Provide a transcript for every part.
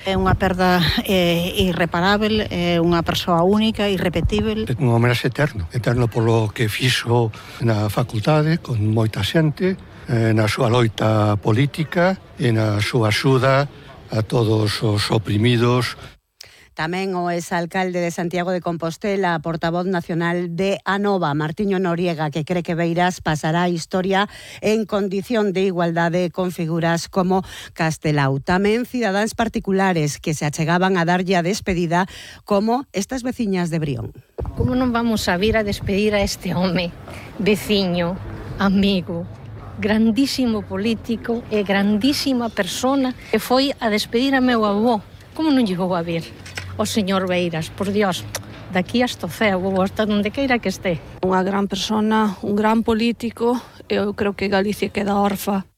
É unha perda irreparável, é unha persoa única, irrepetível. É un homenaxe eterno polo que fixo na facultade con moita xente, na súa loita política e na súa axuda a todos os oprimidos. Tamén o exalcalde de Santiago de Compostela, portavoz nacional de Anova, Martiño Noriega, que cree que Beiras pasará a historia en condición de igualdade con figuras como Castelao. Tamén cidadáns particulares que se achegaban a darlle a despedida, como estas veciñas de Brión. Como non vamos a vir a despedir a este home, veciño, amigo, grandísimo político e grandísima persona que foi a despedir a meu avó? Como non lle vou a vir? O señor Beiras, por Dios, daqui hasta o ceo, ou hasta onde queira que este. Unha gran persona, un gran político, eu creo que Galicia queda orfa.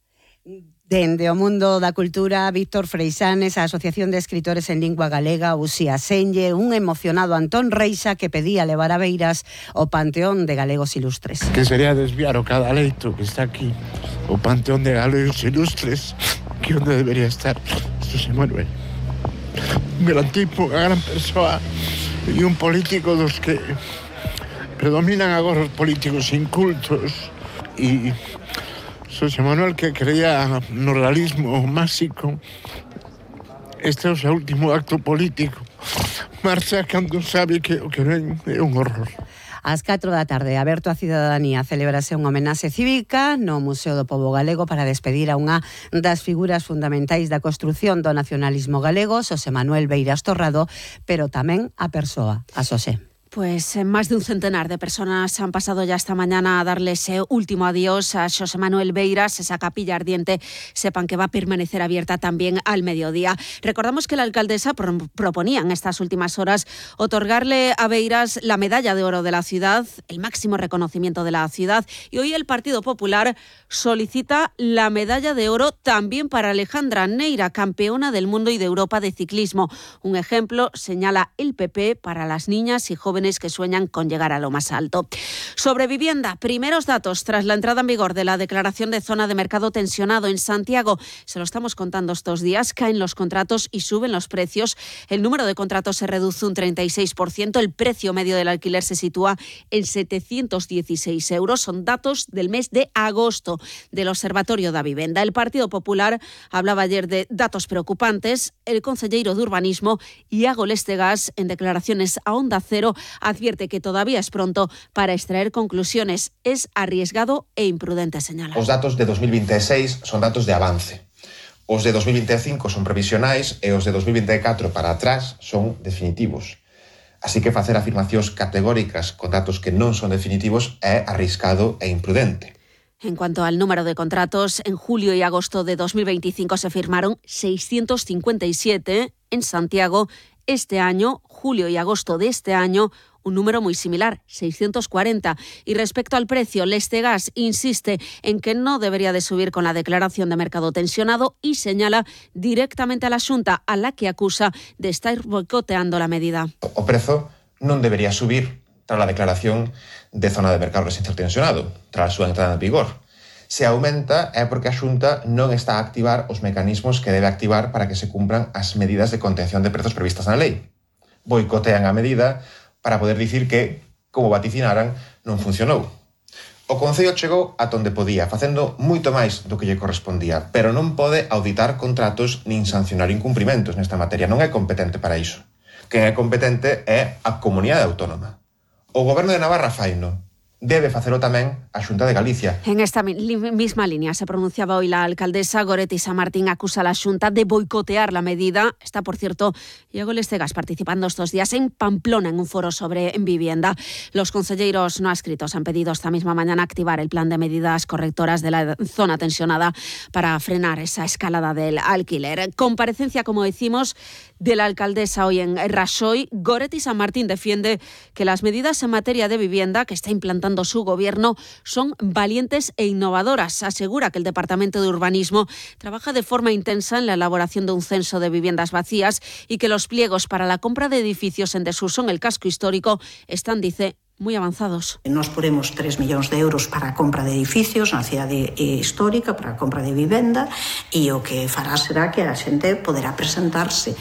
Dende o mundo da cultura, Víctor Freixanes, a Asociación de Escritores en Lingua Galega, Uxía Senlle, un emocionado Antón Reixa que pedía levar a Beiras o Panteón de Galegos Ilustres. Que sería desviar o cada leito que está aquí, o Panteón de Galegos Ilustres, que onde debería estar José Manuel. Un gran tipo, unha gran persoa e un político dos que predominan agora os políticos incultos, e José Manuel, que creía no realismo máxico, este é o seu último acto político. Marcha cando sabe que o que ven é un horror. Ás 4 da tarde, aberto á cidadanía, celebrase unha homenaxe cívica no Museo do Pobo Galego para despedir a unha das figuras fundamentais da construción do nacionalismo galego, Xosé Manuel Beiras Torrado, pero tamén a persoa, a Xosé. Pues más de un centenar de personas han pasado ya esta mañana a darle ese último adiós a Xosé Manuel Beiras. Esa capilla ardiente, sepan que va a permanecer abierta también al mediodía. Recordamos que la alcaldesa proponía en estas últimas horas otorgarle a Beiras la medalla de oro de la ciudad, el máximo reconocimiento de la ciudad, y hoy el Partido Popular solicita la medalla de oro también para Alejandra Neira, campeona del mundo y de Europa de ciclismo. Un ejemplo, señala el PP, para las niñas y jóvenes que sueñan con llegar a lo más alto. Sobre vivienda, primeros datos tras la entrada en vigor de la declaración de zona de mercado tensionado en Santiago. Se lo estamos contando estos días, caen los contratos y suben los precios. El número de contratos se reduce un 36%, el precio medio del alquiler se sitúa en 716 euros. Son datos del mes de agosto del Observatorio da Vivenda. El Partido Popular hablaba ayer de datos preocupantes. El concelleiro de Urbanismo, Iago Lestegas, en declaraciones a Onda Cero, advierte que todavía es pronto para extraer conclusiones. Es arriesgado e imprudente, señala. Os datos de 2026 son datos de avance. Os de 2025 son previsionais e os de 2024 para atrás son definitivos. Así que facer afirmacións categóricas con datos que non son definitivos é arriscado e imprudente. En cuanto al número de contratos, en julio y agosto de 2025 se firmaron 657 en Santiago. Este año, julio y agosto de este año, un número muy similar, 640. Y respecto al precio, Lestegas insiste en que no debería de subir con la declaración de mercado tensionado y señala directamente a la Xunta, a la que acusa de estar boicoteando la medida. O prezo non debería subir tras a declaración de zona de mercado residencial tensionado, tras a súa entrada en vigor. Se aumenta é porque a Xunta non está a activar os mecanismos que debe activar para que se cumpran as medidas de contención de prezos previstas na lei. Boicotean a medida para poder dicir que, como vaticinaran, non funcionou. O Concello chegou a onde podía, facendo moito máis do que lle correspondía, pero non pode auditar contratos nin sancionar incumprimentos nesta materia. Non é competente para iso. Quen é competente é a Comunidade Autónoma. O Goberno de Navarra faino. Debe facelo tamén a Xunta de Galicia. En esta misma línea se pronunciaba hoy la alcaldesa. Goretti Samartín acusa a la Xunta de boicotear la medida. Está, por cierto, Iago Lestegas participando estos días en Pamplona en un foro sobre vivienda. Los concelleiros no adscritos han pedido esta misma mañana activar el plan de medidas correctoras de la zona tensionada para frenar esa escalada del alquiler. Comparecencia, como decimos, de la alcaldesa hoy en Raxoi. Goretti Samartín defiende que las medidas en materia de vivienda que está implantando su gobierno son valientes e innovadoras. Asegura que el Departamento de Urbanismo trabaja de forma intensa en la elaboración de un censo de viviendas vacías y que los pliegos para la compra de edificios en desuso en el casco histórico están, dice, moi avanzados. Nos poremos 3 millóns de euros para a compra de edificios na cidade histórica, para a compra de vivenda, e o que fará será que a xente poderá presentarse